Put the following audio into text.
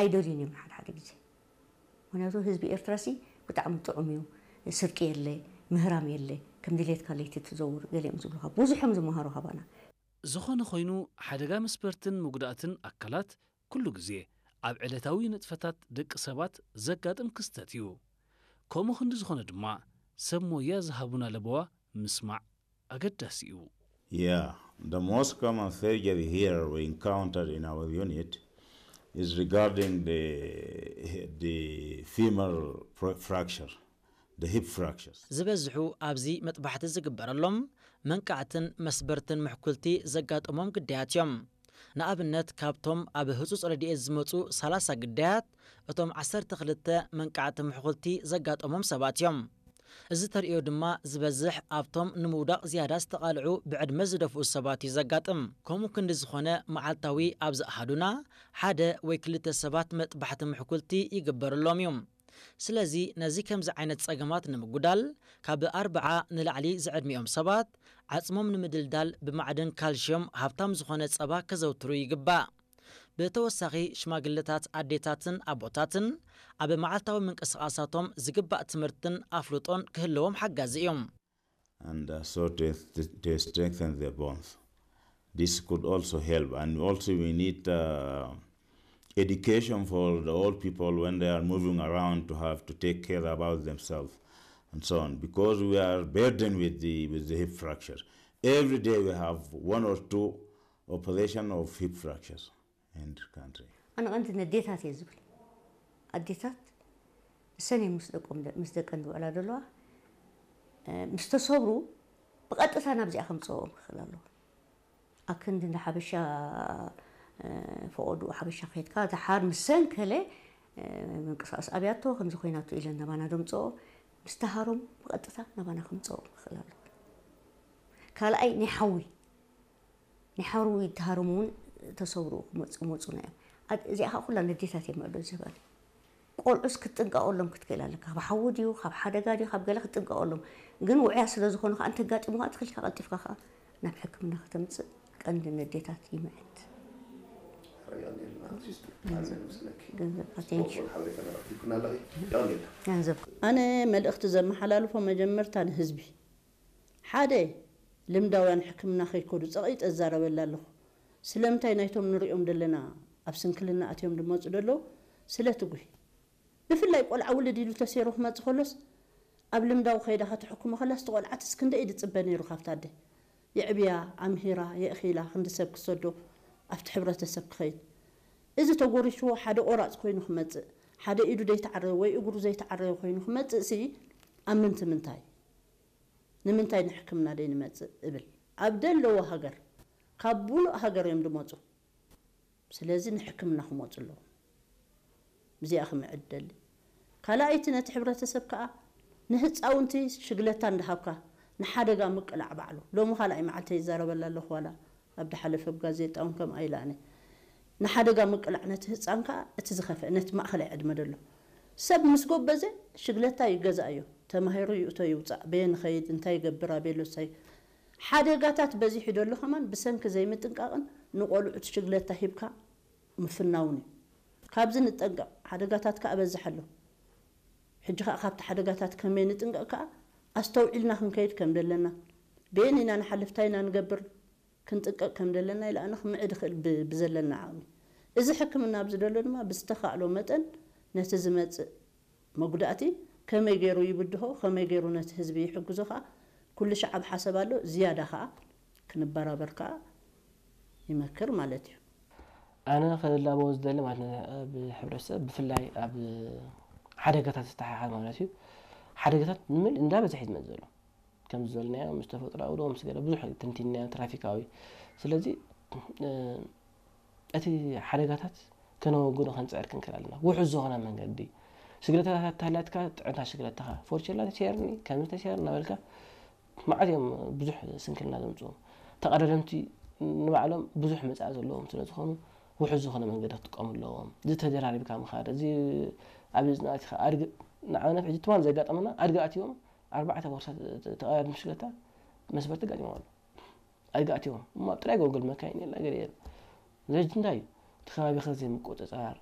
ኣይደልዩን እዮም ሓደ ሓደ ግዜ። ምክንያቱ ህዝቢ ኤርትራሲ ብጣዕሚ ጥዑም እዩ። ስርቂ የለ፣ ምህራም የለ፣ ከም ድሌትካ ለይቲ ትዘውር፣ ገሊኦም ዝብሉካ ብዙሕ እዮም ዝመሃሩ ካባና። ዝኾነ ኮይኑ፣ ሓደጋ መስበርትን ምጉዳእትን ኣካላት ኩሉ ግዜ ኣብ ዕለታዊ ንጥፈታት ደቂ ሰባት ዘጋጥም ክስተት እዩ። ከምኡ ክንዲ ዝኾነ ድማ ሰብ ሞያ ዝሃቡና ለበዋ ምስማዕ ኣገዳሲ እዩ። Yeah, the most common surgery here we encountered in our unit is regarding the, the femur fr- fracture, the hip fractures. ዝበዝሑ ኣብዚ መጥባሕቲ ዝግበረሎም መንቃዕትን መስበርትን ምሕኩልቲ ዘጋጠሞም ግዳያት እዮም። ንኣብነት ካብቶም ኣብ ህጹጽ ረድኤት ዝመጹ ሰላሳ ግዳያት እቶም ዓሰርተ ክልተ መንቃዕቲ ምሕኩልቲ ዘጋጠሞም ሰባት እዮም። እዚ ተርእዮ ድማ ዝበዝሕ ኣብቶም ንምውዳቕ ዝያዳ ዝተቓልዑ ብዕድመ ዝደፍኡ ሰባት እዩ ዘጋጥም። ከምኡ ክንዲ ዝኾነ መዓልታዊ ኣብዚ ኣሃዱና ሓደ ወይ ክልተ ሰባት መጥባሕቲ ምሕኩልቲ ይግበረሎም እዩ። ስለዚ ነዚ ከምዚ ዓይነት ጸገማት ንምጉዳል ካብ ኣርብዓ ንላዕሊ ዝዕድሚኦም ሰባት ዓጽሞም ንምድልዳል ብማዕድን ካልሽዮም ሃብታም ዝኾነ ጸባ ከዘውትሩ ይግባእ። ብተወሳኺ ሽማግለታት ኣዴታትን ኣቦታትን ኣብ መዓልታዊ ምንቅስቓሳቶም ዝግባእ ትምህርትን ኣፍልጦን ክህልዎም ሓጋዚ እዮም። And uh, so to, to strengthen their bonds. This could also help. And also we need uh, education for the old people when they are moving around to have to take care about themselves and so on. Because we are burdened with the, with the hip fracture. Every day we have one or two operation of hip fractures in the country. ኣነ ቀንዲ ነዴታት እየ ዝብል። ኣዴታት እሰን እዮም ምስ ደቆም ምስ ደቀን ዝውዕላ ዘለዋ። ምስ ተሰብሩ ብቐጥታ ናብዚኣ ከምፅኦም ክኽእል ኣለዎ። ኣክንዲ እንደ ሓበሻ ፈቐዱ ሓበሻ ከድካ ተሓር ምሰን ከለ ምንቅስቃስ ኣብያቶ ከምዚ ኮይናቶ ኢለን ናባና ደምፅኦ። ምስ ተሃሮም ብቐጥታ ናባና ከምፅኦም ክኽእል ኣለዎ። ካልኣይ ናይ ሓዊ ናይ ሓዊ ተሃሮም እውን ተሰብሩ ክመፁ መፁና እዮም። እዚኣ ከዓ ኩላ ነዴታት እዮም መእዶ ዝህበን። ቆልዑስ ክትጥንቀቐሎም ክትክእል ኣለካ። ካብ ሓዊ ድዩ ካብ ሓደጋ ድዩ ካብ ገለ ክትጥንቀቐሎም። ግን ውዕያ ስለ ዝኾኑ ከዓ እንተጋጢሙ ከዓ ትኽልካ ቀልጢፍካ ከዓ ናብ ሕክምና ከተምፅእ ቀንዲ ነዴታት ይምዕድ። ገንዘብ ኣነ መልእኽቲ ዘመሓላልፎ መጀመርታ ንህዝቢ ሓደ ልምዳውያን ሕክምና ከይከዱ ፀቒጠ እዛረበላ ኣለኹ። ስለምንታይ ናይቶም ንሪኦም ዘለና ኣብ ስንክልና ኣትዮም ዝመፁ ዘለዉ ስለ ትጉሂ። ብፍላይ ቆልዓ ውልድ ኢሉ ተሰይሩ ክመፅእ ከሎስ ኣብ ልምዳዊ ከይዳ ከተሕክሞ ከላስ እቲ ቆልዓትስ ክንደይ እዩ ዝፅበ ነይሩ ካብታ ኣደ። የዕብያ፣ ኣምሂራ፣ የእኺላ ክንዲ ሰብ ክሰዶ ኣብቲ ሕብረተሰብ ክኸይድ። እዚ ተጎሪሽዎ ሓደ ቆራፅ ኮይኑ ክመፅእ፣ ሓደ ኢዱ ዘይተዓረየ ወይ እግሩ ዘይተዓረየ ኮይኑ ክመፅእ ሲ ኣብ ምንቲ ምንታይ? ንምንታይ ንሕክምና ደይ ንመፅእ እብል ኣብ ደለዎ ሃገር ካብ ቡሉእ ሃገር እዮም ድመፁ። ስለዚ ንሕክምና ክመፁ ኣለዎም። እዚኣ ክምዕድ ደሊ። ካልኣይቲ ነቲ ሕብረተሰብ ከዓ ንህፃውንቲ ሽግለታ እንዳሃብካ ንሓደጋ ምቅላዕ ባዕሉ ሎሚ ካልኣይ መዓልተ ይዛረበላ ኣለኹ ዋላ ኣብ ድሓለፈ ብጋዜጣ እውን ከም ኣይላኣነ ንሓደጋ ምቅላዕ ነቲ ህፃን ከዓ እቲ ዝኸፍአ ነቲ ማእኸላይ ዕድመ ደሎ ሰብ ምስ ጎበዘ ሽግለታ ይገዛእ እዩ ተማሂሩ ይእቶ ይውፃእ በየ ንኸይድ እንታይ ይገብር ኣበየሎ ሳይ ሓደጋታት በዚሑ ደሎ ከማን ብሰንኪ ዘይምጥንቃቕን ንቆልዑት ሽግለታ ሂብካ ምፍናውን እዩ። ካብዚ ንጠንቀቕ፣ ሓደጋታት ከኣ በዝሕ ኣሎ። ሕጂ ከኣ ካብቲ ሓደጋታት ከመይ ንጥንቀቕ ከኣ ኣስተውዒልና ክንከይድ ከም ዘለና፣ በየን ኢና ንሓልፍ፣ ታይ ኢና ንገብር፣ ክንጥንቀቕ ከም ዘለና ኢላኣነ ክምዕድ ይኽእል ብ- ብዘለና ዓቕሚ። እዚ ሕክምና ኣብዚ ዘሎ ድማ ብዝተኻእሎ መጠን ነቲ ዝመጽእ መጉዳእቲ ከመይ ገይሩ ይብድሆ፣ ከመይ ገይሩ ነቲ ህዝቢ ይሕግዞ ከኣ ኩሉ ሻዕ ኣብ ሓሰብ ኣሎ። ዝያዳ ከኣ ክንበራበር ከኣ ይመክር ማለት እዩ። ኣነ ክላበዎ ዝደሊ ማለት ነ- ኣብ ሕብረተሰብ ብፍላይ ኣብ ሓደጋታት ዝተሓሓዝ ማለት እዩ። ሓደጋታት ንምል እንዳበዝሐ እዩ ዝመፅእ ዘሎ። ከም ዝበልናዮ ምስ ተፈጥሮኣዊ ዶ ምስ ገለ ብዙሕ ተንቲንናዮ ትራፊካዊ። ስለዚ እ፣ እቲ ሓደጋታት ከነወግዶ ከንፅዕር ክንክእል ኣለና። ውሑስ ዝኾነ መንገዲ ሽግለታታት ተሃላትካ ጥዕንታ ሽግለታኻ ፎርቸላ ተሰየርኒ ከምዚ ተሰየር እናበልካ መዓት እዮም ብዙሕ ስንክልና ዘምፅኡ። ተቐዳደምቲ ንባዕሎም ብዙሕ መፃኢ ዘለዎም ስለ ዝኾኑ ውሑስ ዝኾነ መንገዲ ክጥቀሙ ኣለዎም። እዚ ተደራሪብካ ምኻድ እዚ ኣብ ዝናእቲኻ ኣድግ ንኣብነት ሕጂ ትማን ዘጋጠመና ኣድጊ ኣትዮም ኣርባዕተ ቦርሳ ተቐዳድም ሽግለታ መስበርቲ ጋጢሞም ኣሎ። ኣድጊ ኣትዮም እሞ ኣብ ጥራይ ጎግል መካይን የላ ገለ የለ። እዚ ሕጂ እንታይ እዩ? እቲ ከባቢኻ ዘይምቁፅፃር